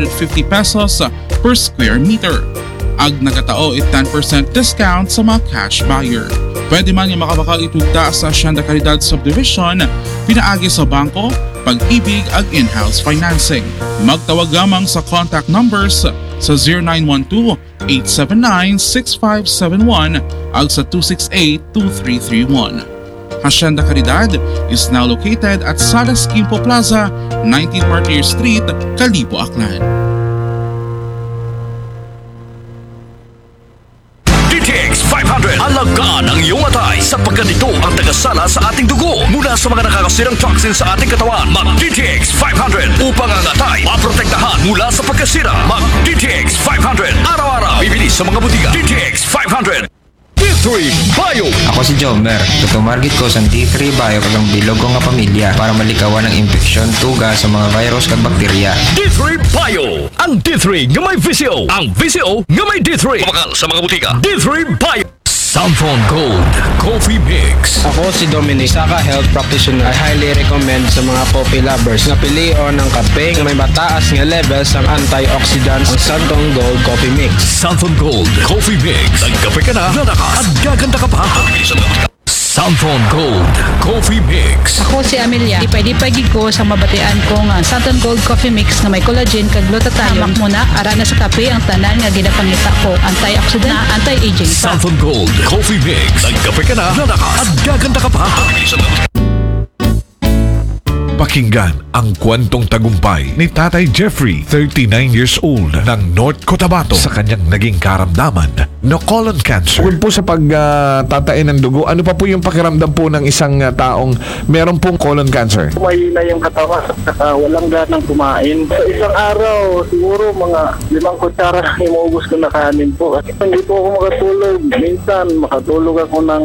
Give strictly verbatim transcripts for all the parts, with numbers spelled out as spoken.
fifty pesos per square meter. Ag nagatao it ten percent discount sa mga cash buyer. Pwede man nga makabakal itugta sa Hacienda Caridad Subdivision, pinaagi sa bangko, pag-ibig ag in-house financing. Magtawag lamang sa contact numbers sa zero nine one two, eight seven nine, six five seven one ag sa two six eight, two three three one. Hacienda Caridad is now located at Salas Quimpo Plaza, nineteen Martyr Street, Kalibo, Aklan. D T X five hundred. Alagaan ang iyong atay sapagkat ito ang tagasala sa ating dugo mula sa mga nakakasirang toxin sa ating katawan. Mag D T X five hundred upang ang atay maprotektahan mula sa pagkasira. Mag D T X five hundred araw-araw. Bibili sa mga butika. D T X five hundred. D three Bio. Ako si Jomer. Tutumargit ko sa D three Bio kag ang bilog ko nga pamilya para malikawan ang impeksyon, tuga sa mga virus kag bakterya. D three Bio. Ang D three nga may V C O. Ang V C O nga may D three. Mabakal sa mga butika. D three Bio. Santhon Gold Coffee Mix. Ako si Dominic, isa ka health practitioner. I highly recommend sa mga coffee lovers na pilion ang kape nga may mataas nga level sa antioxidants, ang Santhon Gold Coffee Mix. Santhon Gold Coffee Mix. Nagkape ka na, lalakas at gaganda ka pa. Santhon Gold Coffee Mix. Ako si Amelia. Di pwede pwede ko sa mabatian ko nga Santon Gold Coffee Mix na may collagen kag glutathione. Hamak mo na, ara na sa kape ang tanan nga ginapangita ko. Antioxidant na anti-aging pa. Santhon Gold Coffee Mix. Nagkape ka na, lalakas at gaganda ka pa. Pakinggan ang kwentong tagumpay ni Tatay Jeffrey, thirty-nine years old, ng North Cotabato, sa kanyang naging karamdaman na colon cancer. Bukod po sa pagtatain ng dugo, ano pa po yung pakiramdam po ng isang ah, taong meron pong colon cancer? Mahina yung katawan at saka walang ganang kumain. Sa isang araw, siguro mga limang kutsara lang inuubos ko na kanin po. Hindi po ako makatulog. Minsan, makatulog ako ng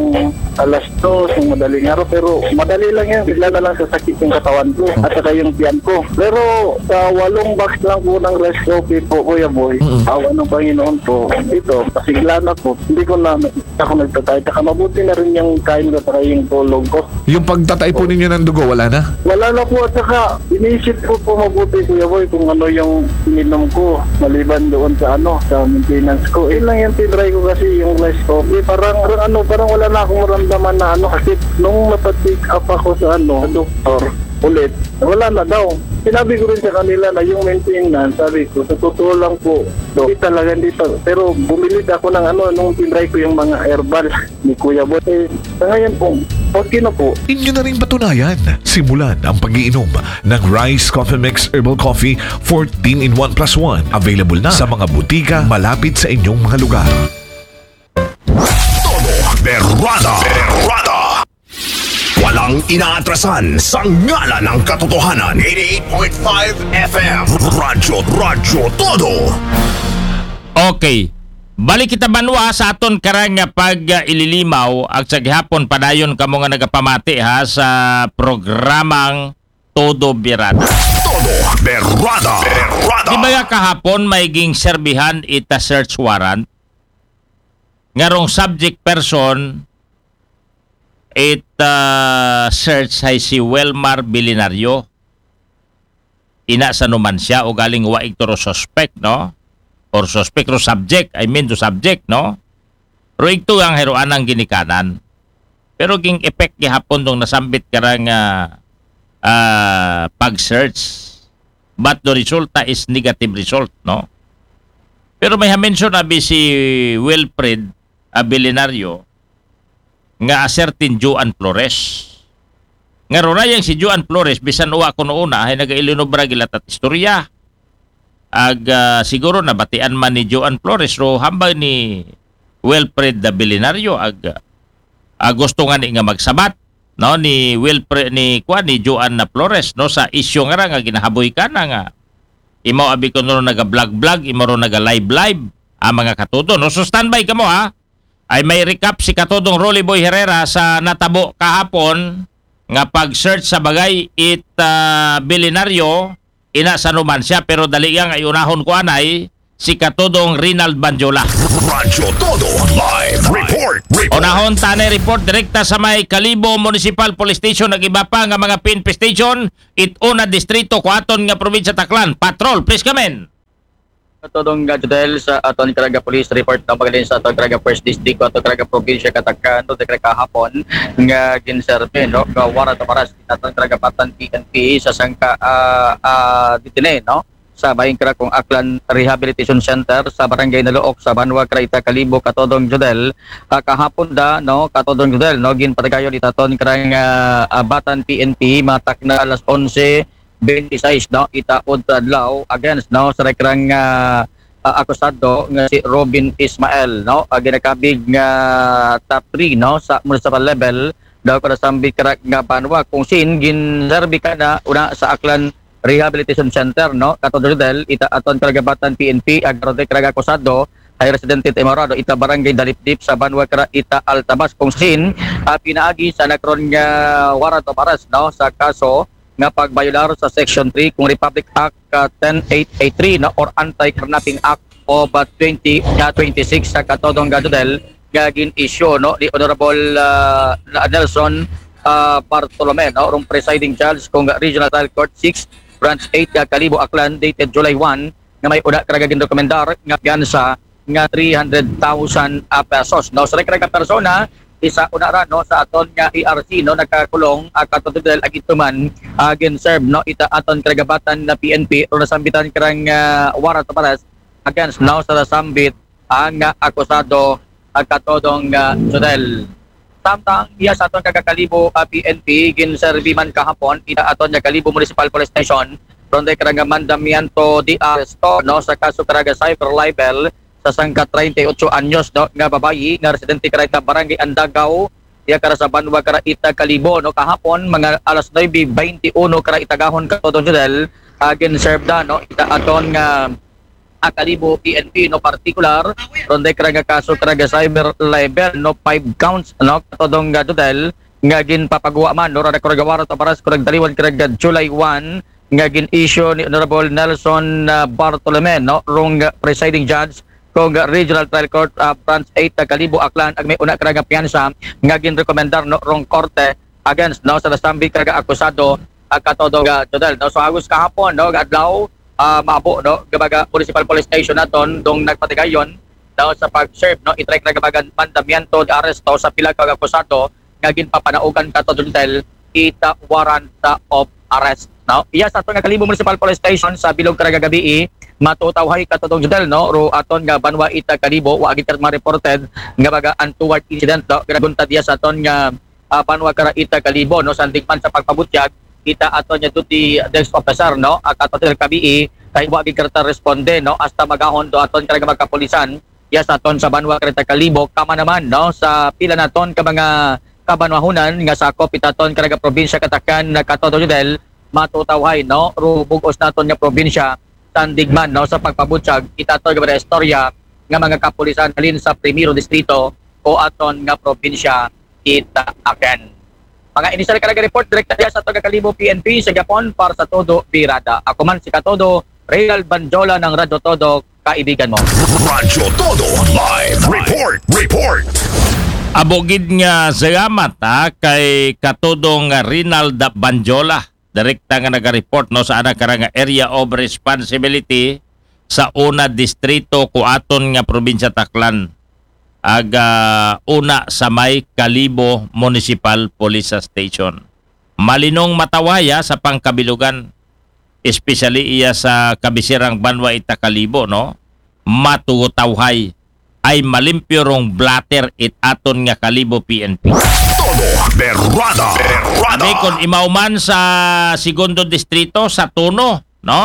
alas dos ng madaling araw, pero madali lang yan. Bigla na lang sasakit yung katawan ko at saka yung tiyan ko. Pero sa walong box lang po ng rice coffee po, Kuya Boy, awa ng Panginoon po, ito, pasigla na po. Hindi ko na ako nagtatay. Saka mabuti na rin yung kain ko saka yung tulog ko. Yung pagtatay po ninyo ng dugo, wala na? Wala na po at saka inisip ko po mabuti, Kuya Boy, kung ano yung ininom ko maliban doon sa ano, sa maintenance ko. Yun lang yung tinry ko kasi yung rice coffee. Parang, parang ano, parang wala na akong maramdaman na ano kasi nung napatik up ako sa ano, doktor ulit, wala na daw. Sinabi ko rin sa kanila na yung maintenance, sabi ko, sa totoo lang po, hindi talaga, hindi pa. Pero bumili ako ng ano, nung tinry ko yung mga herbal ni Kuya Boy. Eh, sa ngayon po, okay na po. Inyo na rin patunayan. Simulan ang pag-iinom ng Rice Coffee Mix Herbal Coffee fourteen in one plus one. Available na sa mga butika malapit sa inyong mga lugar. Todo Berrada. Berrada. Walang inaatrasan sa ngalan ng katotohanan. Eighty-eight point five F M. Radyo, Radyo Todo. Okay. Balik kita banwa sa aton karang nga pag uh, ililimaw ag sa gihapon padayon kamo nga nagapamati ha sa programang Todo Birada. Todo Berrada. Berrada. Di ba nga kahapon may ging serbihan ita search warrant? Nga rong subject person it uh, search hay si Welmar Bilinario. Ina sa numan siya o galing wa igto ro suspect, no? Or suspect ro subject, I mean to subject, no? Ro igto ang heroan ang ginikanan. Pero ging effect gihapon tong nasambit karang uh, uh, pag-search. But the resulta is negative result, no? Pero may ha-mention abi si Wilfred Abilinario nga a certain Joan Flores. Nga ro na yang si Joan Flores, bisan uwa ko noon na, ay nagailinobra gilatat istorya. Ag uh, siguro nabatian man ni Joan Flores, ro hambay ni Wilfred Abilinario, ag uh, gusto nga ni nga magsabat, no, ni Wilfred, ni Kwan, ni Joan na Flores, no, sa isyu nga ra nga ginahaboy ka na nga. Imaw abi ko no naga-vlog-vlog, imaw ro naga-live-live, ang mga katuto, no? So standby kamo ha. Ay may recap si Katudong Rolly Boy Herrera sa natabo kahapon nga pag-search sa bagay it uh, bilinaryo, ina sa numan siya, pero dali yang ay unahon ko anay si Katudong Rinald Banjola. Radyo Todo Live Report. Report. Unahon tanay report direkta sa may Kalibo Municipal Police Station ag iba pa nga mga P N P station it una distrito kuaton nga probinsya Taklan. Patrol, please come in. Katodong nga Jodel, sa aton karaga police report na magaling sa aton karaga first district, aton karaga probinsya Katakan, to karaga kahapon nga ginserbi, no, nga warrant of arrest aton karaga Batan P N P sa sangka ah, ah, detene, no, sa Bayang Krakong Aklan Rehabilitation Center sa Barangay Naluok sa Banwa Kraita Kalibo, Katodong Jodel. Ah, kahapon da, no, Katodong Jodel, no, ginpatigayon itaton karang ah, ah, Batan P N P matak na alas onse twenty-six, no, ita udto adlaw against, no, sa rekrang ah, ah, akusado nga si Robin Ismael, no, ah, ginakabig nga top three, no, sa municipal level daw kada sambit kara nga banwa kung sin ginserbi kana una sa Aklan Rehabilitation Center, no, Katodong Jodel, ita aton karagabatan P N P, agarode karaga akusado ay residente ta Imorado, ita barangay Dalipdip sa banwa kara ita Altabas kung sin ah, pinaagi sa nagkaroon nga warrant of arrest, no, sa kaso nga pagbayolar sa Section three kung Republic Act ah, ten eight eight three, no, or Anti-Kidnapping Act of ah, twenty ah, twenty-six sa Katodong Jodel nga gin-issue, no, ni Honorable ah, Nelson ah, Bartolome, no, rong presiding judge kung Regional Trial Court six, Branch eight, ah, Kalibo, Aklan, dated July one, nga may una karaga ginrekomendar nga piyansa nga three hundred thousand ah, pesos, no? Sa karaga persona, isa una ra, no, sa aton nga E R C, no, nakakulong ah, Katodong Jodel, agituman ah, gin-serve, no, ita aton karagabatan na P N P, ro nasambitan karang ah, warrant of arrest against, no, sa nasambit ang ah, akusado ah, Katodong ah, Jodel. Samtang iya sa aton karaga Kalibo ah, P N P, ginserbi man kahapon ita aton nga Kalibo Municipal Police Station, ronde karang mandamiento de arresto, no, sa kaso karaga cyber libel sa sangka treinta y ocho anyos, no, nga babayi nga residente kara ita Barangay Andagaw, iya kara sa banwa kara ita Kalibo, no, kahapon mga alas nuebe twenty-uno kara ita gahon, Katodong Jodel, ah, gin-serve da, no, ita aton nga ah, Kalibo P N P, no, partikular ronde karaga kaso karaga cyber libel, no, five counts, no, Katodong Jodel, nga ginpapagwa man, no, rada karaga warrant of arrest karaga daliwan karaga July one nga gin-issue ni Honorable Nelson ah, Bartolome, no, rong presiding judge kung Regional Trial Court ah, Branch eight, ah, Kalibo, Aklan, ag may una karaga piyansa nga ginrekomendar, no, rong korte against, no, sa nasambit karaga akusado ah, Katodong ah, Jodel, no. So agos kahapon, no, nga adlaw, ah, maabo, no, gabaga Municipal Police Station naton dong nagpatigayon daw sa pag-serve, no, itry karaga bagan mandamiento de arresto sa pila ka akusado nga ginpapanaugan, Katodong Jodel, ita warrant of arrest, no. Iya sa aton nga Kalibo Municipal Police Station sa bilog karaga gabii, matutawhay, Katodong Jodel, no, ro aton nga banwa ita Kalibo, wa gid kara ma-reported nga baga untoward incident, no, ganagunta diya sa aton nga ah, banwa kara ita Kalibo, no, sandig man sa pagpabutyag ita aton nga duty desk officer, no, ah, Katodong Jodel, kabii kay wa gid kara responde, no, hasta magahon do aton karaga mga kapulisan iya sa aton sa banwa kara ita Kalibo, kama naman, no, sa pila naton ka mga kabanwahunan nga sakop ita aton karaga probinsya Katakan, na Katodong Jodel, matutawhay, no, ro bug-os naton nga probinsya sandig man, no, sa pagpabutyag ita aton nga mga istorya nga mga kapulisan halin sa Primero Distrito o aton nga probinsya ita aken. Mga inisyal karaga report direkta diya sa aton nga Kalibo P N P sa gihapon para sa Todo Birada. Ako man si Katodo, Reynald Banjola ng Radyo Todo, kaibigan mo. Radyo Todo Live Report. Report. Abo gid nga salamat ha kay Katodong Rinald Banjola, direkta nga naga-report, no, sa ana karang area of responsibility sa una distrito ko aton nga probinsya Aklan, ag ah, una sa may Kalibo Municipal Police Station. Malinong matawhaya sa pangkabilugan, especially iya sa kabisirang banwa ita Kalibo, no? Matutawhay ay malimpyo rong blotter it aton nga Kalibo P N P. Todo Berrada. Berrada. May kon imaw man sa segundo distrito sa Tono, no?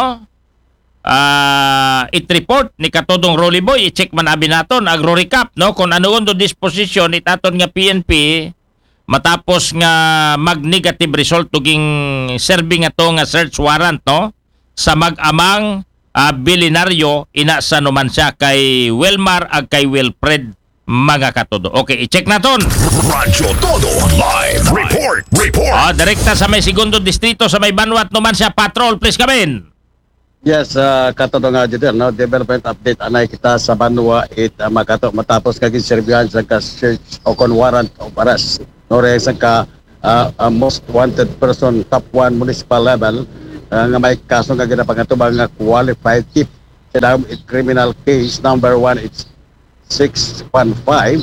Ah, it report ni Katodong Rolly Boy, i-check man abi naton, agro recap, no? Kung ano do disposition it aton nga P N P matapos nga mag-negative result tuging serving ato nga search warrant, no? Sa mag-amang ah, bilinaryo, ina sa numan siya kay Wilmar ag kay Wilfred, mga Katodo. Okay, i-check naton. Radyo Todo Live Report. Report. Ah, direkta sa may segundo distrito sa may banwat numan siya, patrol, please come in. Yes, uh, Katodo nga Jodel, no? Development update anay kita sa banwa it uh, makato matapos kagin serbihan sa ka search o kon warrant of arrest. No, re sa ka uh, uh, most wanted person top one municipal level uh, nga may kaso nga ginapangatubang nga qualified thief. sa dahom it criminal case number one eight six one five,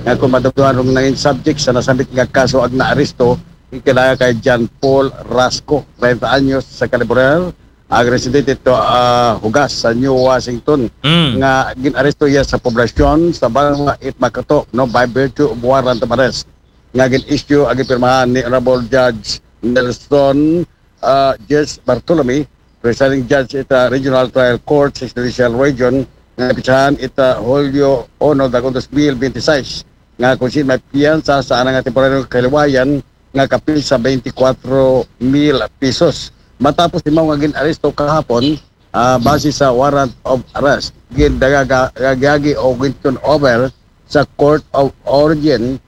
nga kung madumduman rong nangin subject sa nasambit nga kaso ag naaresto, ikilaya kay John Paul Rasco, treinta anyos, sa California, ag residente to, ah, Hugas sa New Washington, Mm. nga ginaresto iya sa poblasyon sa Banwa it Makato, no, by virtue of warrant of arrest nga gin-issue ag gipirmahan ni Honorable Judge Nelson, ah, Judge Bartolome, presiding judge ita Regional Trial Court sa Judicial Region, nga napitsahan ita Hulyo uno, dagong dos mil binte seis, nga kung sin may piyansa sa anang nga temporaryong kahilwayan nga kapin sa twenty-four mil pesos. Matapos imaw nga gin-aresto kahapon, ah, base sa warrant of arrest, gindagaga-, gagagi o gin-turn over sa Court of Origin,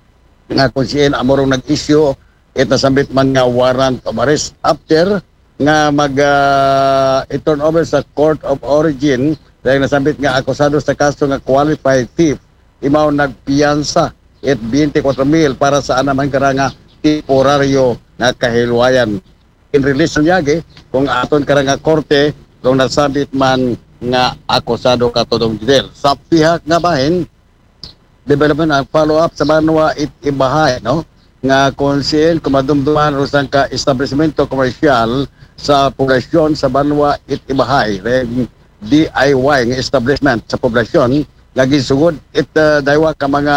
nga kung sin amo rong nag-issue it nasambit man nga warrant of arrest. After nga mag, ah, i-turn over sa Court of Origin, dahil nasambit nga akusado sa kaso nga qualified thief, imaw nagpiyansa it twenty-four mil para sa anaman kara nga temporaryo nga kahilwayan. In release niya, kung aton kara nga korte, kung nasambit man nga akusado katudong Judel. Sa pihak nga bahin, development ang follow-up sa Banwa it Ibahay, no? Nga kung sin kumadumduman ro sang ka establishmento komersyal sa poblasyon sa Banwa it Ibahay, ren D I Y nga establishment sa poblasyon, nga ginsugod it, ah, daywa ka mga,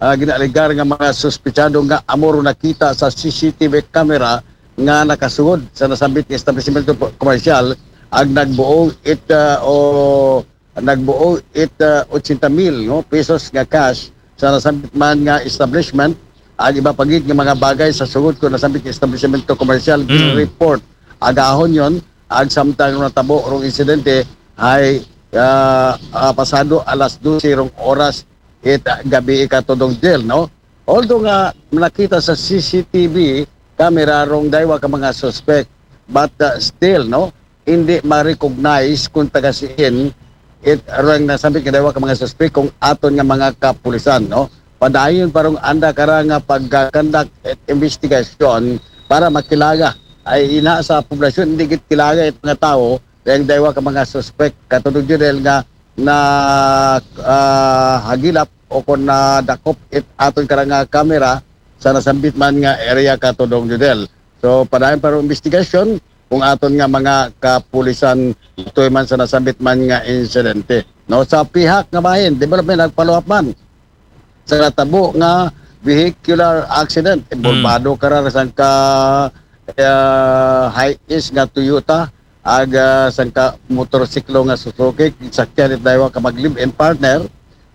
ah, ginaalegar nga mga suspetsado nga amo ro nakita sa C C T V camera nga nakasugod sa nasambit nga establishmento po-, komersyal, ag nagbuo it, ah, o nagbuo it, ah, ochenta mil, no, pesos nga cash sa nasambit man nga establishment, ag iba pa gid nga mga bagay sa sugod ko nasambit nga establishmento komersyal, Mm. report agahon yon, ag samtang natabo rong insidente ay, ah, ah, pasado alas dose rong oras it, ah, gabi katudong Judel, no? Although nga nakita sa C C T V camera rong daywa ka mga suspect, but, ah, still, no, hindi ma-recognize kung taga siin it rong nasambit nga daywa ka mga suspect kung aton nga mga kapulisan, no? Padayon pa rong anda kara nga pag-conduct it investigation para makilala. Ay ina sa poblasyon, hindi gid kilala it mga tao, dahil daywa ka mga suspect. Katudong Judel nga na, ah, hagilap o kung nadakop it aton kara nga camera sa nasambit man nga area katudong Judel. So, padayon pa rong investigasyon kung aton nga mga kapulisan tuy man sa nasambit man nga insidente. No, sa pihak nga bahin, development ag follow-up man sa natabo nga vehicular accident. Involbado kara sang ka, ah, high-ace nga Toyota, ag, ah, sang ka motorsiklo nga Suzuki, sakyan it daywa ka mag live-in partner,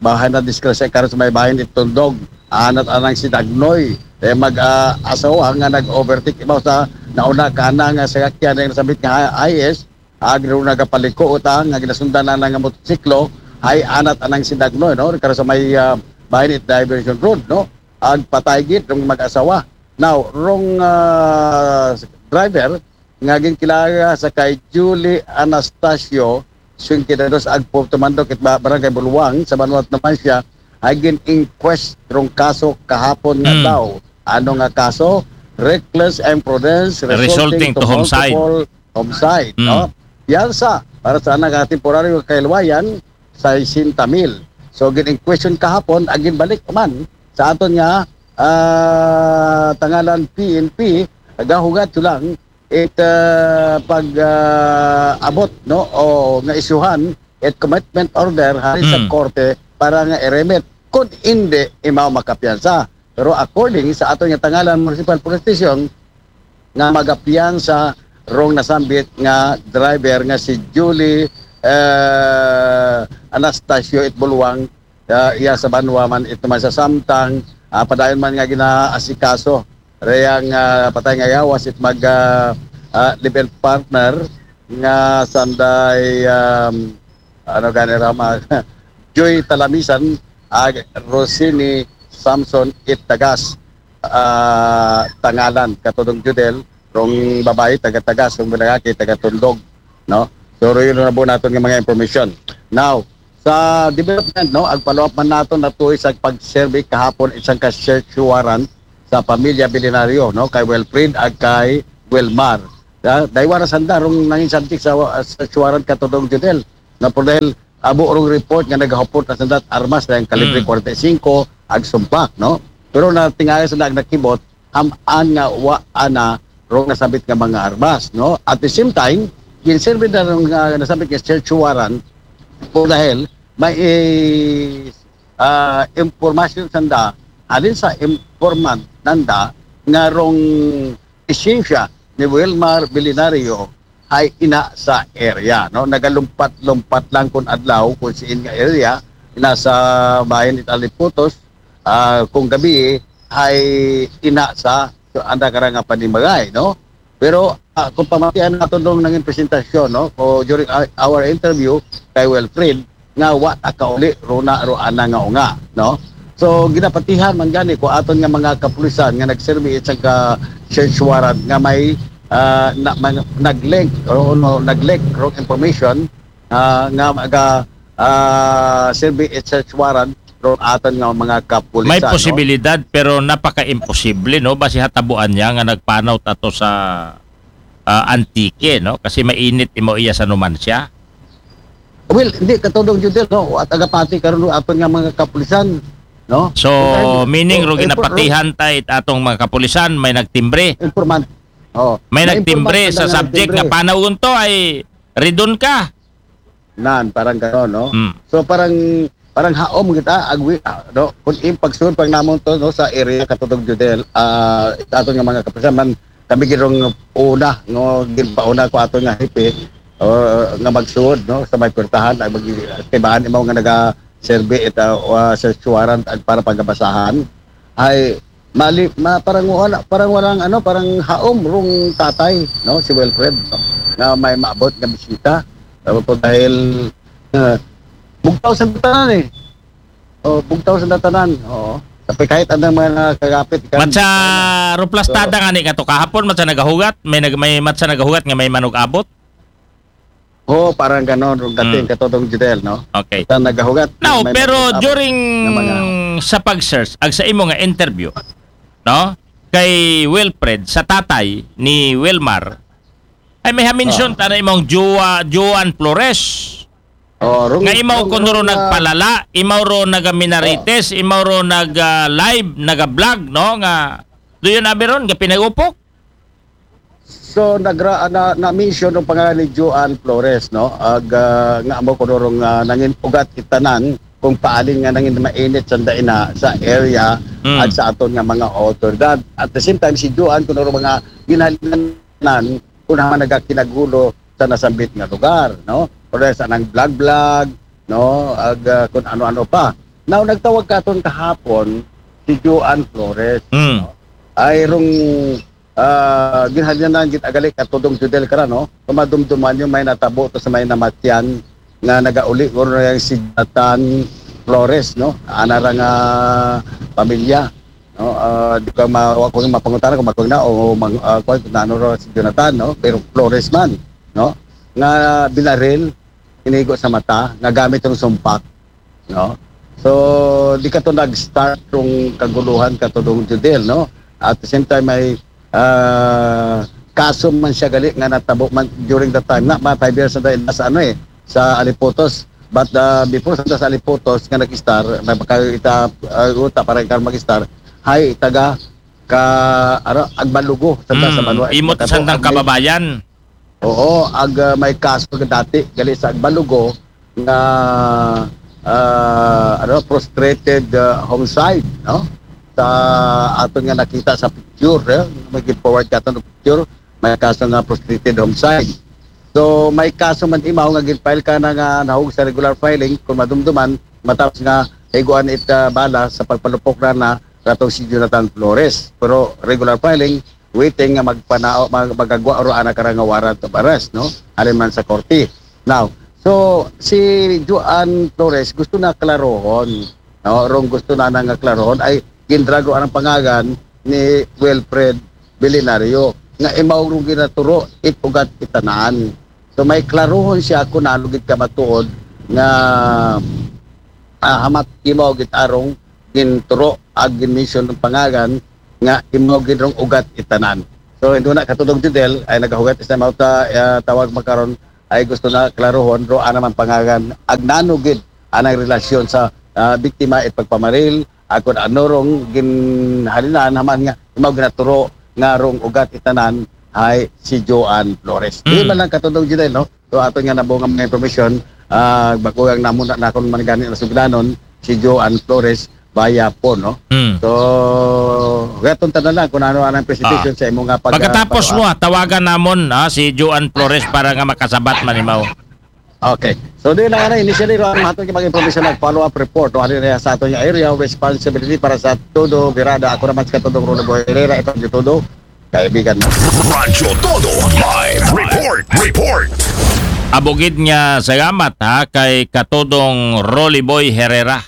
bahin na disgrasya karon sa may bahin it Tundog, anat anang si Dagnoy, eh, mag, ah, asawa nga nag-overtake ibaw sa nauna kana nga sakyan nga nasambit nga high-ace, ag ro nagapaliko uta nga ginasundan na nga motorsiklo, hay anat anang si Dagnoy, no? Karon sa may, ah, bahin it diversion road, no? Ag patay gid rong mag-asawa. Now, rong, ah, driver nga ginkilala sa kay Julie Anastasio, singkida dos, ag tumandok it ba-, barangay Bulwang sa Banwa it Numancia, ay gin-inquest rong kaso kahapon nga Hmm. daw. Ano nga kaso? Reckless imprudence resulting, Resulting to, to homicide. Multiple homicide, Hmm. no? Piyansa para sa anang, ah, temporaryo kahilwayan, sesenta mil. So, gin-inquestion kahapon, ag ginbalik man sa aton nga, ah, tangalan P N P, gahugad to lang it, ah, pag, ah, abot, no, o nga isyuhan it commitment order hari sa, hmm, korte para nga i-remit. Kung hindi, imaw makapiyansa. Pero according sa aton nga tangalan Municipal Police Station, nga magapiyansa rong nasambit nga driver nga si Julie, eh, Anastasio it Bulwang, ah, iya sa Banwa man it Numancia, samtang, ah, padayon man nga ginaasikaso reyang, ah, patay nga yawas it mag, ah, ah, live-in partner nga sanday, um, ano gani rama, Joy Talamisan ag Rosini Samson it Tagas, ah, tangalan katudong Judel, rong babayi taga Tagas, rong lalaki taga Tundog, no? So, ro yun na po naton nga mga information. Now, sa development, no, ag follow-up man naton natuy sa pag-survey kahapon isang ka search warrant sa pamilya Bilinaryo, no, kay Wilfred ag kay Wilmar. Da-, daywa na sanda rong nangin subject sa, sa search warrant katudong Judel. Na por dahil abo rong report nga nagahupot na sanda armas na ang kalibre Mm. forty-five ag sumpak, no? Pero natingala sanda nakibot, ham-an nga wa ana rong nasabit nga mga armas, no? At the same time, ginserbi na rong, ah, nasabit nga search warrant por dahil may, eh, ah, impormasyon sanda, halin sa informant nanda nga rong presensya ni Wilmar Billionario ay ina sa area, no? Nagalumpat-lumpat lang kung adlaw kung siin nga area, ina sa bayan it Aliputos, ah, kung gabi ay ina sa, so, anda ka nga panimagay, no? Pero, ah, kung pamatian nato nung nangin presentasyon, no? O during our, our interview kay Wilfred, nga wa ta kauli runa ro ana nga unga, no? So ginapatihan man gani ko aton nga mga kapulisan nga nagserbi sa ka search warrant nga may, ah, na, man, nag-link o no, nag-leak rong information, ah, nga maga, ah, serbi it search warrant rong aton nga mga kapulisan, May no? posibilidad pero napaka-imposible, no? Basi hatabuan niya nga nagpanaw tato sa ah, Antique, no? Kasi mainit imo iya sa numansya. Well, hindi katulong Judel, no? At agapati karon aton nga mga kapulisan, no? So, Dahil- meaning oh, ro eh, ginapatihan ta it atong mga kapulisan, may nagtimbre. Informant. Oh, May may nagtimbre informant sa na subject nga nagtimbre. Panaw unto ay ridon ka. Nan, parang gano'n, no? Hmm. So parang parang haom kita agwi, ah, no? Kung im pagsulod pang namon to, no, sa area katulong Judel, ah, aton nga mga kapulisan man, kami girong una, no, ginpauna ko aton nga hepe, o, nga magsulod, no, sa may puwertahan ay mag-, tibaan imaw nga naga serbi ita, ah, search warrant ag para pagabasahan ay mali ma, parang wala, parang walang ano, parang haom rong tatay, no, si Wilfred, no, nga may maabot nga bisita. Tapos dahil, ah, bugtaw sa tanan eh. Oh, bugtaw sa tanan. Oo. Tapi kahit anong mga nakakapit kan- Matsa ruplastada nga ni kato kahapon, matsa nagahugat, may nag may matsa nagahugat nga may manug-abot. Oh, parang ganon rong dating Hmm. katulong Judel, no? Okay. Sa nagahugat. Now, may pero manug-abot during na mga sa pag-search, ag sa imo nga interview, no? Kay Wilfred, sa tatay ni Wilmar, ay may hamention Ah. ta na imong Joa, Joan Flores. Oh, rong, Nga imaw rong- kuno ro rong, ah, nagpalala, imaw ro nagaminarites, imaw ro nag ah, live, naga-vlog, no? Nga do you abi ron nga pinagupok? So nagra na, na mention ng pangalan ni Joan Flores, no? Ag ah, nga amo kuno rong ah, nangin ugat itanan kung paali nga nangin mainit sanda ina sa area Hmm. at sa aton nga mga otoridad. At the same time si Joan kuno rong mga ginhalinan kung naman nagakinagulo sa nasambit nga lugar, no? Or sa nang vlog-vlog, no? Ag ah, kung ano-ano pa. Now nagtawag katon kahapon si Joan Flores, Hmm. no? Ay rong ah, ginhalinan gid agali katudong Judel kara, no? Kumadumduman yung may natabo to sa may namatyan nga nagauli ko na yung si Jonathan Flores, no? Ana ra nga pamilya, no? Ah, di ka ma wa ko yung mapangutana kung makung na o mang, ah, kung ano ro si Jonathan, no? Pero Flores man, no? Nga binaril, inigo sa mata, nga gamit yung sumpak, no? So di ka to nag-start yung kaguluhan katulong Judel, no? At the same time may ah, kaso man siya gali nga natabo man during the time na mga five years na dahil sa ano eh, sa Aliputos. But ah, before sa, sa Aliputos nga nag-start, may pagkakita uh, uta para ikaw mag-start, hay taga ka ara Agbalugo sa sa Hmm. Banwa. Imot Katabo, sandang Agbalugo. Kababayan. Oo, ag ah, may kaso nga dati gali sa Agbalugo nga ah, ano, frustrated ah, homicide, no? Sa aton nga nakita sa picture, eh, may forward ka ng picture, may kaso nga frustrated homicide. So may kaso man imaw nga gin-file ka na nga nahug sa regular filing kung madumduman matapos nga higuan it ah, bala sa pagpalupok na na ratong si Jonathan Flores. Pero regular filing, waiting nga magpanao mag, magagwa ro ana kara nga warrant of arrest, no? Halin man sa korte. Now, so si Joan Flores gusto na klarohon, no? Rong gusto na nga klarohon ay gindrago ang pangagan ni Wilfred Billionario nga imaw rong ginaturo it ugat itanan. So may klarohon siya kung ano gid ka matuod nga ah, hamat imaw gid arong ginturo ag ginmission ng pangagan nga imaw gid rong ugat itanan. So indo na katulog Judel ay nagahugat isda mauta ah, tawag makaron ay gusto na klarohon, ro ana man pangagan, agnano gid anang relasyon sa, ah, biktima it pagpamaril, akon ano rong ginhalinan haman nga imaw ginaturo nga rong ugat itanan ay si Joan Flores. Di Mm. man lang katudong Judel, no? So ato nga nabunga mga information, ah, bakugang namo na nakon man gani na sugdanon si Joan Flores via phone, no? Mm. So, gaton tanan lang kung ano ang presentation Ah. sa imo nga pag- Pagkatapos pag- mo, ah, tawagan namon, ah, si Joan Flores para nga makasabat man imaw. Okay. So, di na nga na, initially, ro, ang hatong mga information, nag-follow-up report, no? Ano na sa ato yung area of responsibility para sa todo birada. Ako naman sa katudong Rolo Boy Herrera, itong todo, kaibigan mo. Radyo Todo Live Report. Report. Abugid nga salamat, ha, kay katudong Rolly Boy Herrera.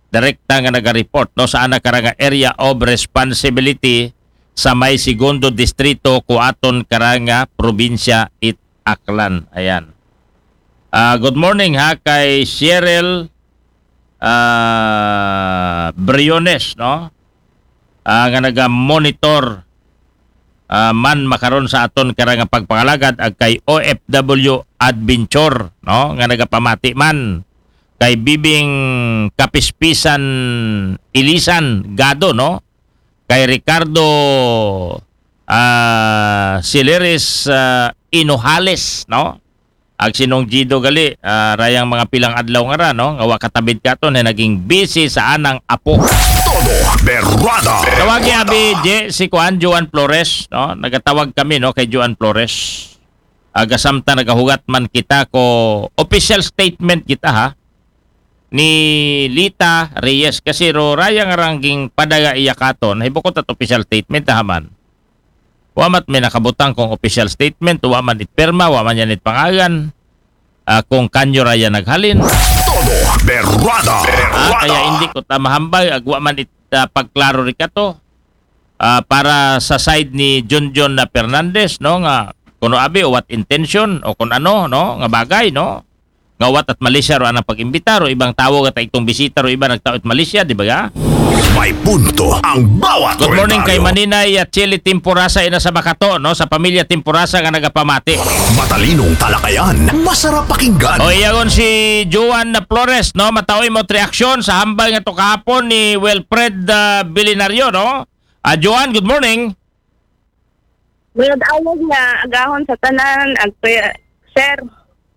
Direkta nga naga-report, no, sa ana karanga area of responsibility sa may segundo distrito, kuaton karanga probinsya it Aklan. Ayan. Ah, good morning, ha, kay Cheryl, ah, Briones, no? Ah, nga naga-monitor, ah, man makaron sa aton karanga pagpangalagad, ag kay O F W Adventure, no? Nga nagapamati man kay Bibing Kapispisan Ilisan Gado, no? Kay Ricardo, ah, Sileres, ah, Inojales, no? Ag sinong Gido gali, ah, rayang mga pilang adlaw nga ra, no? Nga wa katabid katon, na naging busy sa anang apo. Todo Berrada. Tawagi abi, Je, si Kuan, Joan Flores, no? Nagatawag kami, no, kay Joan Flores. Aga samtang nagahugat man kita ko official statement kita, ha? Ni Lita Reyes, kasi ro rayang rangging padaga iya katon, hibukot at official statement, ha, man. Wa mat may nakabutang kung official statement, wa man it pirma, wa man yan it pangagan, ah, kung kanyo raya naghalin. Todo Berrada. Ah, kaya hindi ko ta mahambal, ag wa man it, ah, pagklaro ri kato. Ah, para sa side ni Junjun na Fernandez, no, nga kuno abi o what intention o kun ano, no, nga bagay, no, nga wat at Malaysia ro anang pag-imbita ro ibang tawo nga taitong bisita ro iba nagtao it Malaysia, di ba ga? May punto ang bawat Good morning kay komentaryo. Maninay at Chili Timporasa, ina sa Makato, no, sa pamilya Timporasa nga nagapamati. Matalinong talakayan, masarap pakinggan. O, iyagon si Joan na Flores, no, mataoy mo reaksyon sa hambal nga to kahapon ni Wilfred, ah, Bilinario, no? Ah, Joan, good morning. Mayad awag nga agahon sa tanan, ag pe-, sir.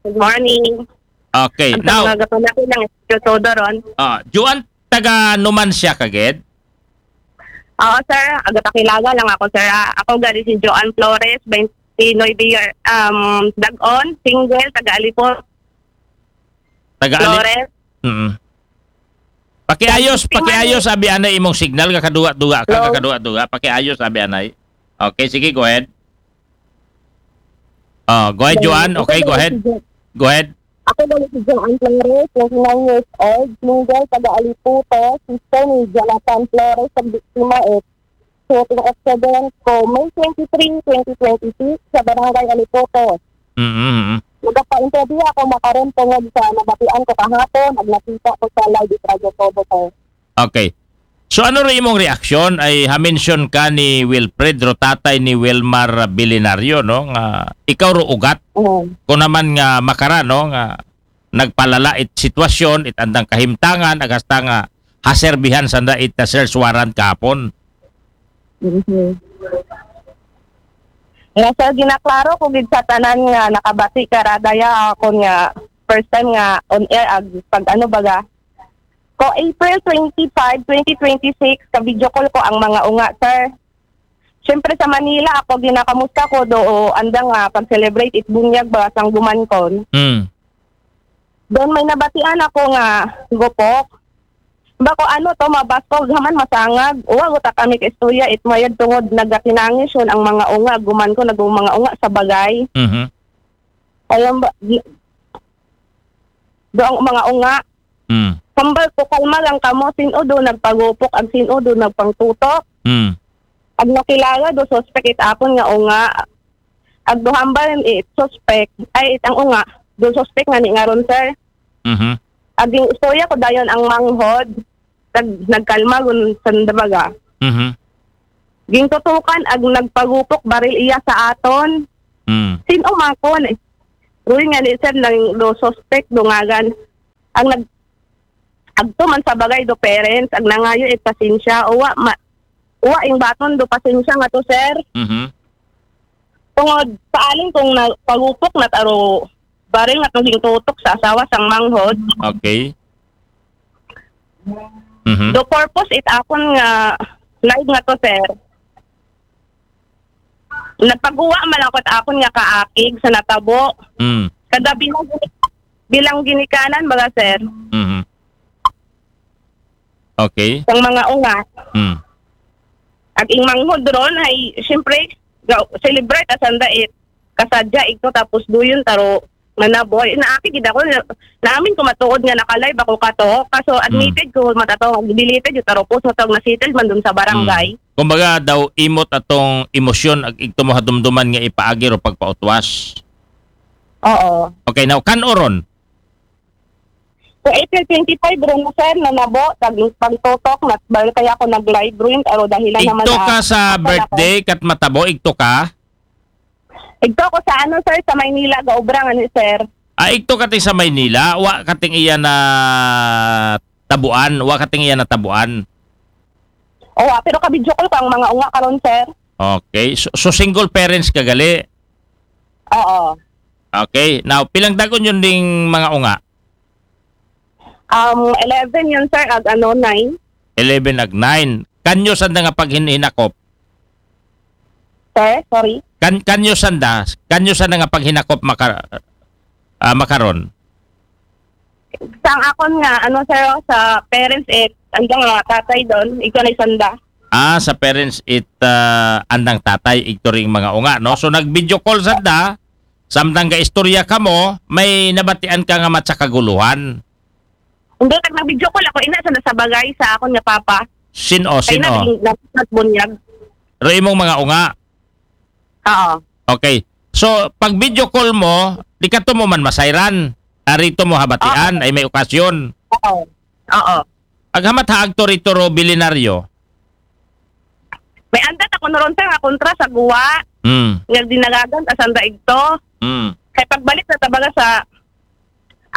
Good morning. Okay, Ang now, mga gapanakit ng Studio Todo ron. Ah, Joan, taga Numancia ka gid? Oo, sir. Agapakilala lang ako, sir, ah. Ako gali si Joan Flores, twenty-nine year, um, Dagon, single, taga Alipon, Taga Ali-, Flores. Mm. Pakiayos, Thank you, pakiayos, ma'am. Abi anay imong signal, kakaduwa-duwa ka, Hello? Kakaduwa-duwa. Pakiayos, abi anay. Okay, sige, go ahead. Oh, go ahead, Hello. Joan. Okay, go ahead. Go ahead. Ako gali si Joan Flores, twenty-nine years old, single, taga Aliputo, sister ni Jonathan Flores, sa biktima, eh, shooting accident ko May twenty-three, twenty twenty-six, sa Barangay Aliputo. Mm-hmm. Nagapa-interview ako makaron tungod sa nabatian ko kahapon, ag nakita ko sa live sa Radyo Todo, sir. Okay. So, ano rin imong reaksyon? Ay, ha-mention ka ni Wilfred ro, tatay ni Wilmar Bilinario, no? Nga ikaw ro ugat. Oo. Kung naman nga makara, no? Nga nagpalala it sitwasyon, it andang kahimtangan, ag hasta nga haserbihan sanda it, uh, search warrant kahapon. Mhm. Nga, sir, ginaklaro ko gid sa tanan nga nakabati ka ra daya, akon nga first time nga on air, ag pag ano baga. Ko April twenty-five, twenty twenty-six, ka-video call ko ang mga unga, sir. Siyempre, sa Manila, ako ginakamusta ko do, andang, ah, pag-celebrate it bunyag ba, sang guman kon. Mm. Doon may nabatian ako nga gupok. Ba ko ano to, mabaskog haman, masangag. Uwa, guta kami ka istorya, it mayad tungod nagatinangis yun ang mga unga, guman ko, nag-, mga unga sa bagay. Mhm. Ayun ba, gi-, do ang mga unga. Mm. Hambal ko, kalma lang kamo, sino do nagpagupok, ag sino do nagpangtutok. Mm. Ag nakilala do suspect it akon nga unga. Ag do hambal it suspect, ay, it ang unga, do suspect nga ni ngaron, sir. Mhm. Ag ing istorya ko dayon ang manghod, nag-, nagkalma gun sanda baga. Mhm. Gintutukan ag nagpagupok baril iya sa aton. Mm. Sino man kon? Doon nga ni sir, nang do suspect, do ngagan. Ang nag-, agto man sa bagay do parents, ang nangayo it pasensya, uwa, ma-, uwa ing baton do pasensya nga to, sir. Mhm. Tungod, paaling kung na, pagupok na taro, baril nga tong tutok sa asawa sang manghod. Okay. Mhm. Do purpose it akon nga live nga to, sir. Nagpaguwa man ako it akon nga kaakig sa natabo. Mm. Kada bilang, bilang ginikanan, baga, sir. Mhm. Okay. Sang mga unga. Mm. Ag ing manghod ron, ay, siyempre, ga-, celebrate asanda it kasadya ito, tapos duyon taro manabo. Ay, naakig gid ako, naamin ko matuod nga naka-live ako kato. Kaso admitted ko, matato, deleted yung taro post, matawag na settled man dun sa barangay. Mm. Kumbaga daw, imot atong emosyon ag igto mo hadumduman nga ipaagi ro pagpautwas. Oo. Okay, now, kan-o ron? Sa April twenty-five ron, sir, na nabo, tag pagtutok, na, dahil kaya ako nag-live ron, pero dahilan naman Igto na ka sa ako na birthday, kat matabo, igto ka? Igto ko sa ano, sir, sa Maynila, gaobra nga ni sir. Ah, igto ka ti sa Maynila, wa ka ting iya na tabuan, wa ka ting iya na tabuan. Oo, ah, pero ka-video call ko ang mga unga karon, sir. Okay, so, so single parents ka gali. Oo. Okay, now, pilang dagon yun ding mga unga? Um, eleven yun, sir, ag ano, nine. Eleven ag nine. Kanyo sanda nga paghinakop? Sir, sorry. Kan kanyo sanda, kanyo sanda nga paghinakop maka, ah, makaron? Sa ang akon nga, ano, sir, sa parents, eh, andang mga tatay doon, ikaw na isanda. Ah, sa parents it ah, andang tatay, igto ring mga unga, no? So nag-video call sanda, samtang gaistorya kamo, may nabatian ka nga matsa kaguluhan. Hindi, tag nag-video call ako, ina, sa nasa bagay sa akon nga papa. Sino, Kaya na, sino? naging nagpatbunyag. Ro imong mga unga. Oo. Okay. So, pag video call mo, di ka to mo man masayran. Arito mo habatian, ay may okasyon. Oo. Oo. Aghamat ha agto rito ro bilinaryo. May andat ako noron, sir, nga kontra sa guwa. Mm. Nga dinagagan, asanda igto. Mm. Kay pagbalik na tabaga sa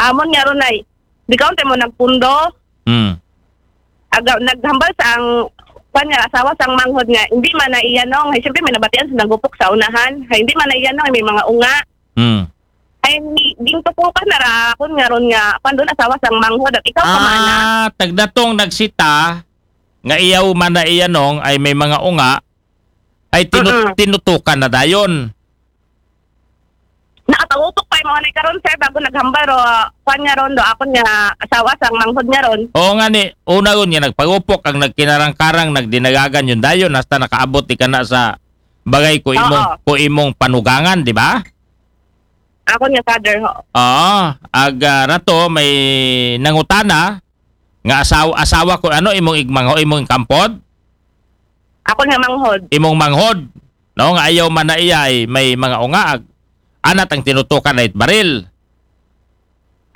amon nga ron ay, di ka unti mo nagpundo. Mm. Aga, naghambal sa ang, kwan nga, asawa sa ang manghod nga, hindi man na iya nong, ay, siyempre may nabatian sa nagupok sa unahan, ay, hindi man na iya nong, may mga unga. Mm. Ay, gintupukan na ra, kun nga ron nga, kwan doon, asawa sa ang manghod, at ikaw pa man na. Ah, tagdatong nagsita, nga iyaw man na iya nong, ay may mga unga, ay tinu- Mm-mm. tinutukan na dayon. Nakatawutok pa yung mga karon, sir, bago naghambal ro, kwan nga ron do, akon nga asawa sa ang manghod nga ron. Oo nga ni, una ron nga nagpagupok ang nagkinarang-karang, nagdinagagan yung dayon, hasta nakaabot di ka na sa bagay ko imong, Oo. ko imong panugangan, di ba? Akon nga father, ho. Oo, ag ah, rato may nangutana nga asawa, asawa ko ano imong igmangho, imong kampod, Akon nga manghod. imong manghod, no, nga ayaw man na iya ay may mga unga ag anat ang tinutukan na it baril.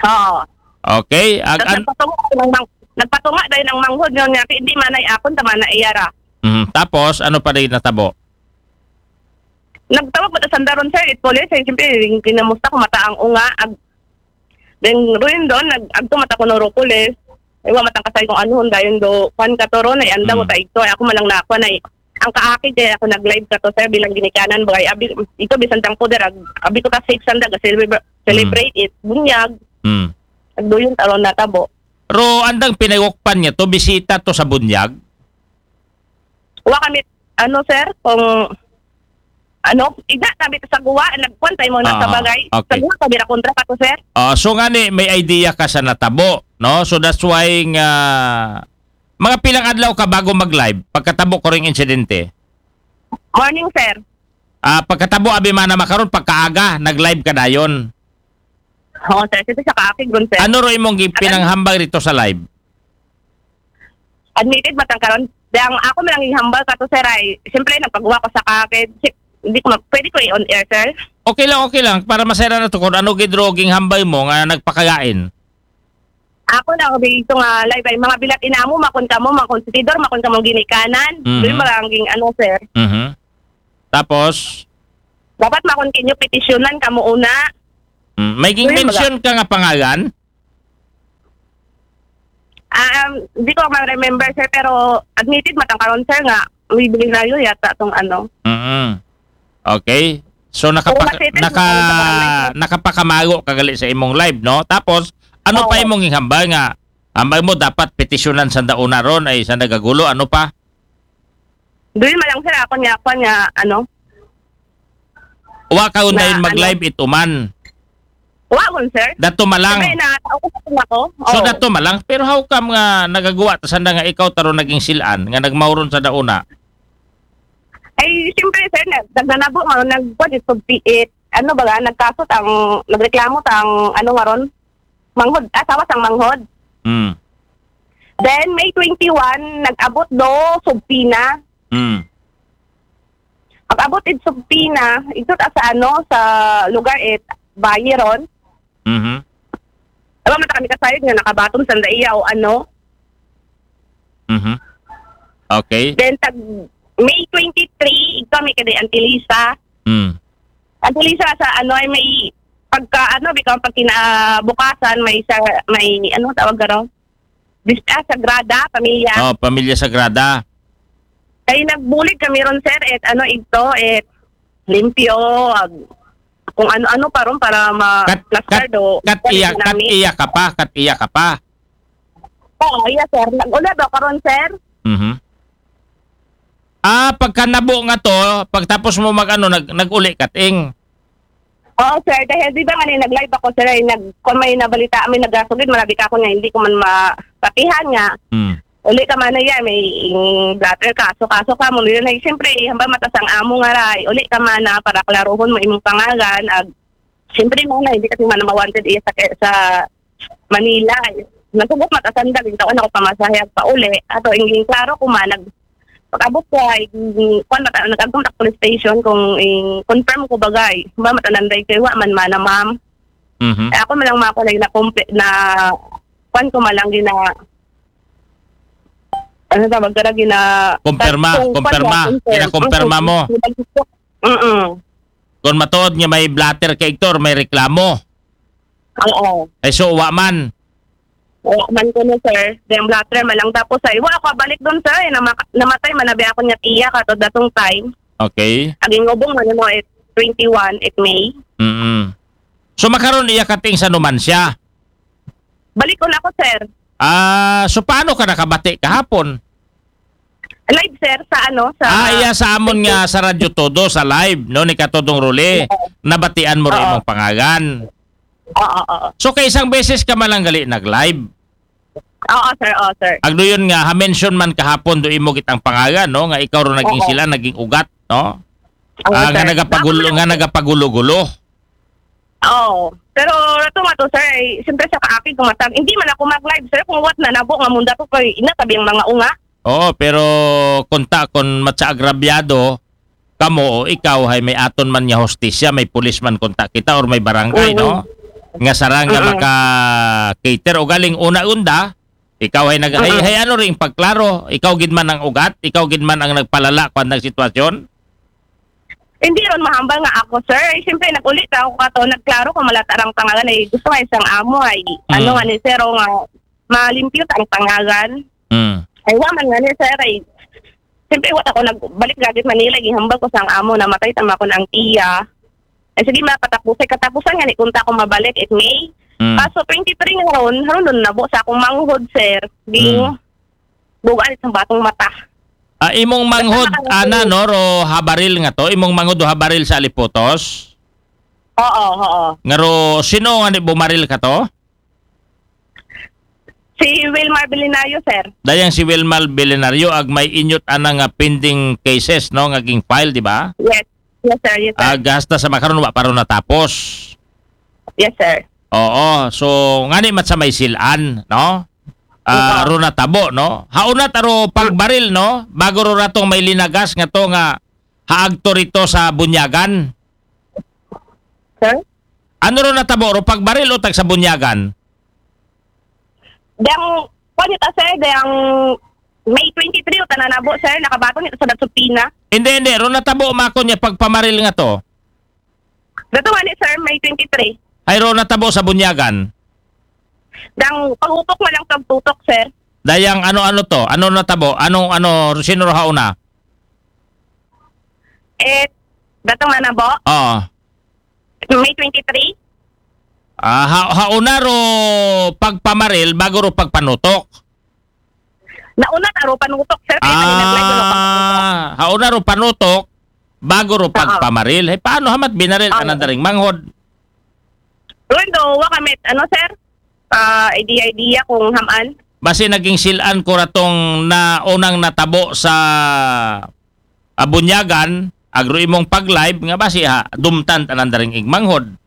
Oo. Okay, ag Tapos an- nagpatunga, ng mang, nagpatunga dahil ng manghod nga nga, hindi man ay akon, tama na iya ra. Mhm. Tapos ano pa rin natabo? Nagtawag ba sa sandaron, sir, it police? Ay, siyempre, yung kinamusta ko, mata ang unga, ag, then, ruin doon, nag, agto mata ko noro police. Ay, wa matang kasay kung ano, dayon do, kwan ka to ron, ay, anda mo Mm. ta ito, ay, ako malang na, kwan, ay, ang kaakid, ay, ako nag-live ka to, sir, bilang ginikanan, bagay, abi, ito, bisan tang poder, ag, abi ko ta safe sanda, ga celebrate, celebrate it, bunyag, Mm. agdo yun, taron natabo. Ro andang pinagukpan niya to, bisita to sa bunyag? Wa kami, ano, sir, kung, ano, igna kami sa guwa, nagkwan tayo mo na sa Ah, bagay. okay. Sa guwa, kami na kontra ka to, sir. Ah, so nga ni, may idea ka sa natabo, no? So that's why nga mga pilang adlaw ka bago mag-live pagkatabo ko ring insidente. Morning, sir. Ah, pagkatabo abi man na makaron pagkaaga nag-live ka dayon. Oo, sir. Kasi sa kaakig ron, sir. Ano ro imong gi- pinanghambal rito sa live? Admitted matang karon. Dang ako man ang ihambal ka to, sir, ay, siyempre, nagpagawa ko sa kaakid. Si-, hindi ko ma-, pwede ko i-on air, sir? Okay lang, okay lang. Para masera na to kung ano gid ro ging hambal mo nga nagpakagain. Ako na, ako dito nga live ay mga bilat inamo, makon kamo, makon sa tidor, makon kamo ginikanan. Mhm. Doon maranging ano, sir. Mhm. Tapos, Dapat makon kinyo petisyonan kamo una. Mm, may ging-mention ka nga pangalan? Um, di ko ma-remember, sir, pero admitted man ta karon, sir, nga may Belisario yata tong ano. Mm. Okay. So nakapa- naka- nakapakamago ka gali sa imong live, no? Tapos ano pa imong gihambal nga ambag mo dapat petisyonan sa dauna ron ay sa nagagulo, ano pa? Dili man lang, sir, ako niya, ako niya, ano. Wa ka undayon mag-live ituman? Wa man, sir. Dato malang. Siyempre, na, ako sa ako. So dato malang, pero how come nga nagagawa ta sanda nga ikaw taro naging silan nga nagmauron sa dauna? Ay, siyempre, sir, nag- nagnanabo nga nagkuan ito, it, ano ba, nagkaso tang nagreklamo tang ano nga ron? Manghod, asawa sang manghod. Mm. Then May twenty-one, nag-abot do subpina. Mm. Pag-abot id subpina, ito ta sa ano, sa lugar it bayi ron. Mhm. Alam mo kami kasayod nga nakabaton sa iya o ano. Mhm. Okay. Then tag May twenty-three, kami kay Antilisa. Mm. Antilisa sa ano ay may pagka ano, bitaw pag kinabukasan may sa may ano tawag garo? Bista Sagrada, pamilya. Oh, pamilya Sagrada. Kay nagbulig kami ron, sir, et ano ito, et limpyo, ag- kung ano-ano pa ron para ma Kat, kat, plastardo. Kat iya, kat iya ka pa, kat iya ka pa. Oo, yes, sir. Nag-ula daw karon, sir. Mhm. Ah, pagkanabo nga to, pagtapos mo mag-ano, nag nag-uli ka, ting. Oo, sir. Dahil di ba nga ni nag-live ako, sir, ay nag kung may nabalita, may nagasugid, malabi ka ako nga hindi ko man mapatihan nga. Hmm. Uli ka man na yan, may mm, blatter kaso, kaso ka mo. Yun ay, siyempre, hamba matas ang amo nga ray. Uli ka man na para klaruhon mo imong pangalan. Ag, siyempre mo na, hindi kasi man mawanted iya sa, sa Manila. Nasugot matasan da, gintawan ako pamasahe ag pauli. Ato, ingin klaro ko man, nag, pag-abot ko ay, mm, kwan, mata, nag-agong tak police station kung in, confirm ko bagay. Ba, matananday kayo, wa man mana, ma'am. Mhm. Eh, ako man lang mga kulay na kumpi, na, kwan ko man lang gina, ano tawag ka na, gina, Kumpirma, kung, kumpirma. kwan, Ginakumpirma mo. Mm-mm. Kung matuod nga may blatter ka, Hector, may reklamo. Oo. Ay, so, wa man. Wala man ko na, sir. Then, blatter man lang. Tapos, ay, wala ko balik doon, sir. Eh, nama- namatay, manabi ako niya tiya ka to datong time. Okay. Aging ubong man mo, it twenty-one, it May. Mm. So, makaron iya kating sa numansya. Balik ko na ako, sir. Ah, so paano ka nakabati kahapon? Live, sir, sa ano, sa... Ah, iya sa amon nga sa Radyo Todo, sa live, no, ni Katodong Rule. Nabatian mo rin Oo. imong pangalan. Oo, oo. So, kay isang beses ka man lang gali nag-live. Oo, sir, oo, sir. Agdo yun nga, ha-mention man kahapon do imo gitang pangalan, no, nga ikaw ro naging Oo. Sila, naging ugat, no? Oo, Ah, nga sir. nagapagulo, Ako nga lang, nagapagulo-gulo. Oo. Pero ito nga to, sir, ay, siyempre sa kaakig kumatag, hindi man ako mag-live, sir, kung what na nabo nga munda ko kay ina tabi ang mga unga. Oo, pero kunta kun matsa agrabyado kamo o ikaw hay may aton man nga hostisya, may pulis man kunta kita or may barangay, Oo. no? Nga sarang nga Oo. maka-cater o galing una unda, ikaw hay nag hay, Oo. Hay ano ring pagklaro, ikaw gid man ang ugat, ikaw gid man ang nagpalala kuan ng sitwasyon. Hindi ron mahambal nga ako, sir. Ay, siyempre, nag-ulit ako kato, nagklaro ko malata rang pangalan ay gusto nga isang amo ay, Mm. ano nga ni sir, o nga, malimpyo ta ang pangalan. Mm. Ay, wa man nga ni sir, ay, siyempre, wa ako nagbalik gagit Manila, gihambal ko sa ang amo, namatay tama ko na ang tiya. Ay, sige, mapatapos, ay, katapusan nga ni, kunta ko mabalik, it May. Mm. Kaso, twenty-three nga ron, haron doon nabo sa akong manghod, sir. Di, Mm. bugaan sa batong mata. Ah, imong manghod, Basta ana, nakakita. No, ro habaril nga to, imong manghod o habaril sa Aliputos? Oo, oo. Nga ro, sino nga ni bumaril ka to? Si Wilmar Belinario, sir. Dayang si Wilmar Belinario, ag may inyot ana nga pending cases, no, nga ging file, di ba? Yes. Yes, sir. Yes, sir. Ag hasta sa makaron, wa pa ron natapos. Yes, sir. Oo, so, ngani mat sa may silan, no? Ah, Oo. Ro natabo, no? Hauna taro pagbaril, no? Bago ro ratong may linagas nga to nga haagto rito sa Bunyagan. Sir? Ano ro natabo ro pagbaril o tag sa Bunyagan? Dang, kwan ito, sir, dang May twenty-three, o tananabo, sir, nakabaton ito sa Datsupina. Hindi, hindi. Ro natabo makon niya pagpamaril nga to. Dato nga ni, sir, May twenty-three. Hayro natabo sa Bunyagan? Dang pangutok na lang pagtutok, sir. Dayang ano-ano to? Ano natabo? Anong ano, sino ro hauna? Eh, datong na nabo? Oo. May twenty-three? Ah, ha, hauna ro pagpamaril bago ro pagpanutok? Nauna ta ro panutok, sir. Kaya kanina, nag-live ro panutok. Ah, hauna ro panutok bago ro pagpamaril. Hey, paano hamat binaril ka na daring manghod? Well, do, wa kami, ano, sir? Ah, idea-idea kung hamaan. Basi naging silan ko ratong na unang natabo sa Abunyagan, agro imong pag-live nga basi ha, dumtan tanan daring igmanghod.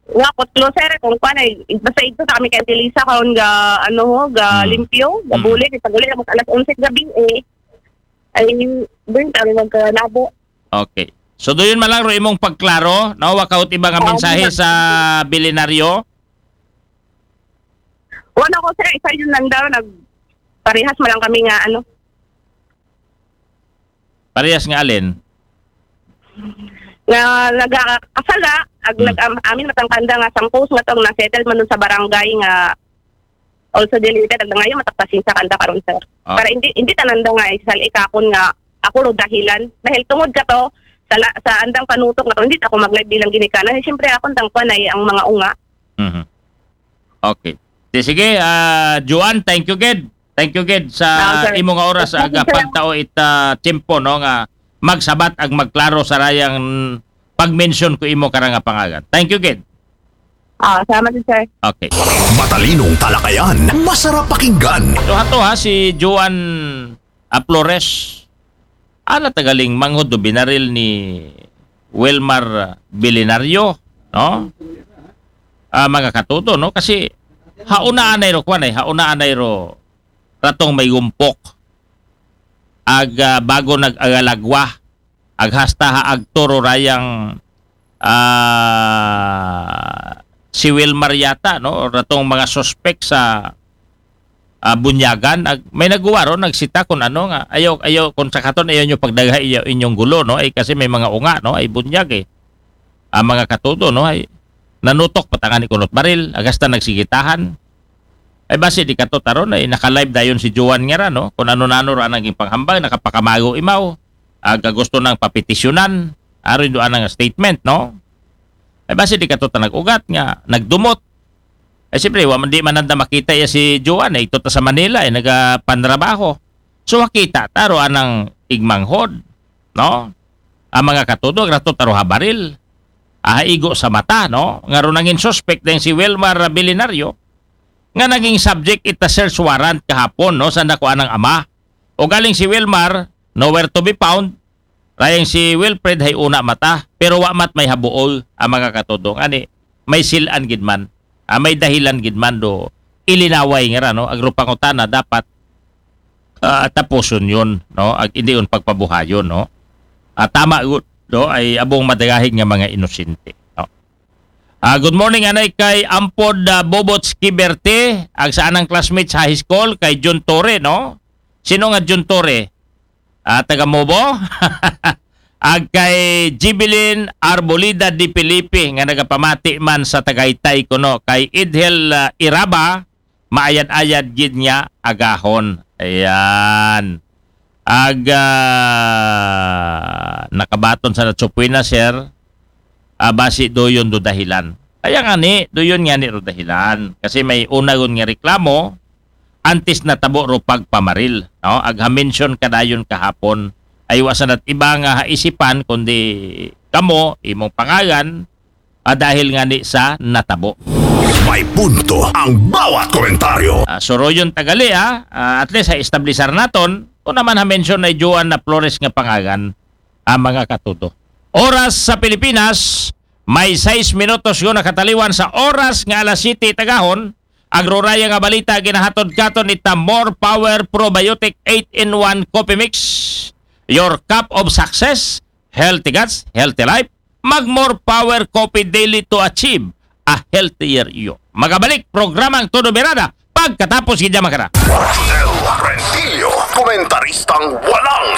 Nga kutlo, sir, kung kuan ay, basta ito sa kami kay Antilisa, karon ga, ano ho, ga limpyo, ga bulig, ipag-uli, mas alas onse gabi, eh. Ay, doon, ang magkalabo. Okay. So, doon man lang ro imong pagklaro, no? Wa ka ot iba nga mensahe sa bilinaryo? Wala ko, sir. Isa yun lang daw. Nag, parehas mo lang kami nga, ano. Parehas nga alin? Nga nagkakasala, ag nag-, am-, amin matangkanda nga sampos nga tong na-settle man dun sa barangay nga also deleted, ag ngayon mataktasin sa kanda karon, sir. Ah. Para hindi, hindi tananda nga isal ikakon nga ako ro dahilan. Dahil tungod ka to, sa, la-, sa andang panutok na to, hindi ako mag-live bilang ginikanan. Eh, siyempre, akong tangkuan ay ang mga unga. Mhm. Okay. Di, sige, ah, Joan, thank you, gid. Thank you, gid, sa imo nga oras, aga pagtao it, ah, tiyempo, no, nga magsabat ag magklaro sa rayang pag-mention ko imo kara nga pangagan. Thank you, gid. Ah, salamat din, sir. Okay. Matalinong talakayan, masarap pakinggan. So, hato ha, si Joan, ah, Flores. Ana tagaling manghod do binaril ni Wilmar Bilinario, no? Ah, mga katuto, no? Kasi hauna anay ro, kwan ay, hauna anay ro ratong may gumpok. Ag, ah, bago nag-agalagwa. Ag hasta ha agto ro rayang, ah, si Wilmar yata, no? Ratong mga suspek sa, ah, Bunyagan. Ag, may naguwa ro, nagsita kun ano nga. Ayaw, ayaw, kun sa katon, ayaw nyo pagdagha iya, inyong gulo, no? Ay, kasi may mga unga, no? Ay, Bunyag, eh. Ah, mga katuto, no? Ay, nanutok patangan ni kunot baril, ag hasta nagsigitahan. Ay, basi di kato taron, ay, naka-live dayon si Joan nga ra, no? Kun ano nano ra naging panghambal, nakapakamago imaw. Aga gusto nang papetisyonan, aron do anang statement, no? Ay, basi di kato ta nag-ugat nga, nagdumot. Ay, siyempre, wa man, di man nanda makita iya si Joan, eh, ito ta sa Manila, eh, nagapanrabaho. So, makita ta ro anang igmanghod, no? Ang mga katuto, ag rato ta ro ha baril. Aha igo sa mata, no? Nga ro nangin suspect dayang si Wilmar Bilinario, nga naging subject ita search warrant kahapon, no? Sa nakuha ng ama. O galing si Wilmar, nowhere to be found. Rayang si Wilfred hay una mata, pero wa mat may habuol ang mga katuto. Ani, may silan gid man, ah, may dahilan gid man do ilinaway nga ra, no? Agro pangutana dapat, ah, tapuson yun, no? Ag hindi yun pagpabuhayon, no? Ah, tama gud, no? Ay abong madagahig nga mga inosente, no? Ah, good morning, anay kay Ampod, ah, Bobot Skiberte, ag sa anang classmates sa high school, kay Jun Torre, no? Sino nga Jun Torre? Ah, taga Mobo? Ag kay Jibilin Arbolida de Felipe nga nagapamati man sa Tagaytay kuno kay Idhel, ah, Iraba, maayad-ayad gid nga agahon. Ayan. Ag, ah, nakabaton sa Natsupuy na, sir. Ah, basi doyon do dahilan. Kaya nga ni, doyon nga ni ro dahilan. Kasi may unagon nga reklamo, antes natabo ro pagpamaril, no? Ag ha-mention ka dayon kahapon, ay wa sanat iba nga haisipan, kundi kamo, imong pangalan, ah, dahil nga ni sa natabo. May punto ang bawat komentaryo. Ah, suroyon tagali, ah. Ah, at least, ha-establishar naton, kung naman ha-mention ay Joanna Flores nga pangalan, ang mga katuto. Oras sa Pilipinas, may sais minutos yun nakataliwan sa oras nga alas siyete tagahon. Agroraya nga balita ginahatod katon ita More Power Probiotic eight-in-one Coffee Mix. Your cup of success, healthy guts, healthy life. Mag More Power Coffee daily to achieve a healthier you. Magabalik programang Todo Birada pagkatapos gid, mga kara. Rodel Rentillo, komentaristang walang